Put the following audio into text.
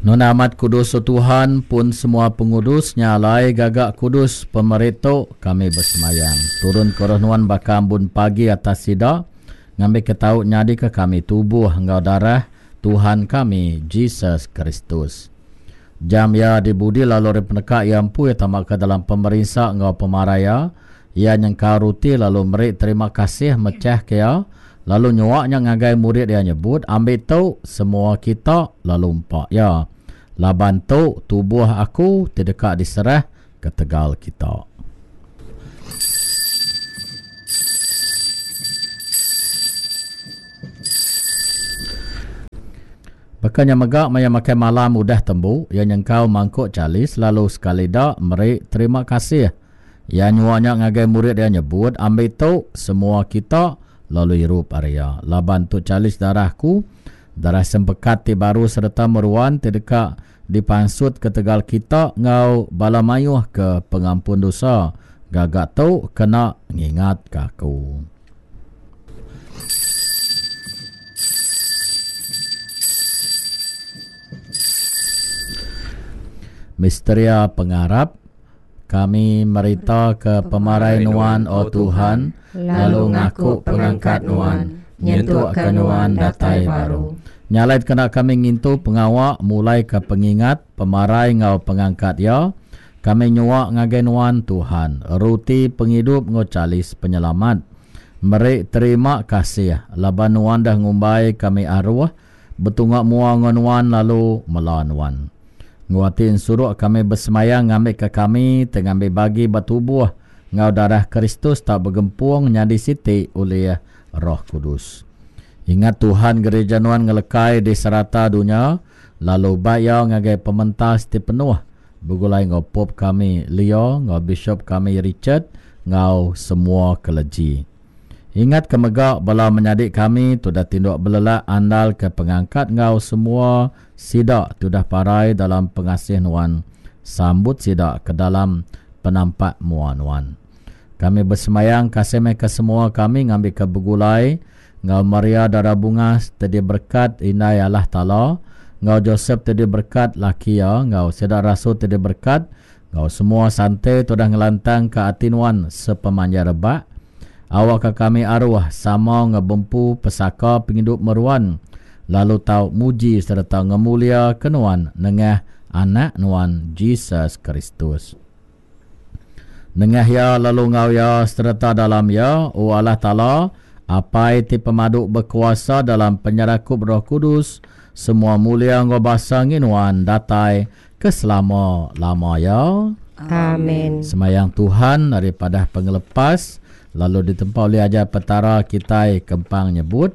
Nuan amat kudus O Tuhan, pun semua pengudus, nya alai gaga kudus pemeri tu, kami besemayang. Turun ke roh Nuan baka ambun pagi atas sida, ngambika tau nyadika kami tubuh enggau darah Tuhan kami, Jesus Kristus. Jam iya dibudi lalu ari peneka iya empu iya tama ke dalam pemerinsa enggau pemarai iya, iya nyengkau ruti lalu meri terima kasih mechahka iya, lalu nyua nya ngagai murid iya nyebut, Ambi tu, semua kita, lalu empa iya. Laban tu tubuh aku ti deka diserah ketegal kita. Baka nya mega maya makai malam udah tembu, iya nyengkau mangkuk chalis lalu sekali da meri terima kasih. Iya nyua nya ngagai murid iya nyebut, Ambi tu, semua kita, lalu irup ari iya. Laban tu chalis darah aku, darah sempekat ti baru sereta meruan ti deka dipansut ketegal kita enggau bala mayuh ke pengampun dosa. Gaga tu kena ngingatka aku. Misteria Pengarap, Kami meritaka pemarai Nuan, O Tuhan, lalu ngaku pengangkat Nuan, nyentukka Nuan datai baru. Nya alai dikena kami ngintu pengawa mulaika pengingat pemarai enggau pengangkat Iya, Kami nyua ngagai Nuan, Tuhan, ruti pengidup enggau chalis penyelamat. Meri terima kasih laban Nuan dah ngumbai kami aruh betunga mua enggau Nuan lalu mela Nuan. Enggau ati ensuruk kami besemaya ngambika kami ti ngambi bagi ba tubuh enggau darah Kristus tau begempung nyadi siti ulih Roh Kudus. Ingat Tuhan gereja Nuan ngelekai di serata dunya lalu bai iya ngagai pementas ti penuh Begulai enggau Pope kami Leo enggau Bishop kami Richard enggau semua keleji. Ingat ke mega bala menyadi kami ti udah tinduk belelak andal ke pengangkat enggau semua sida ti udah parai dalam pengasih nuan sambut sida ke dalam penampak mua nuan. Kami besembayang kasih meh ke semua kami ngambika begulai enggau Maria Dara Bungas ti diberekat Indai Allah Taala, enggau Josep ti diberekat laki iya, enggau sida rasul ti diberekat, enggau semua sante ti udah ngelantangka ati nuan sepemanjai rebak, awakka kami aruh sama enggau bempu pesaka pengidup meruan, lalu tau muji sereta ngemuliaka nuan nengah Anak nuan Jesus Kristus. Nengah Iya lalu enggau Iya sereta dalam Iya, O Allah Taala, Apai ti pemadu bekuasa dalam penyerakup Roh Kudus, semua mulia enggau basa ngi Nuan datai ke selama-lama iya. Amen. Semayang Tuhan ari padah pengelepas lalu ditempa ulih ajar Petara kitai kempang nyebut.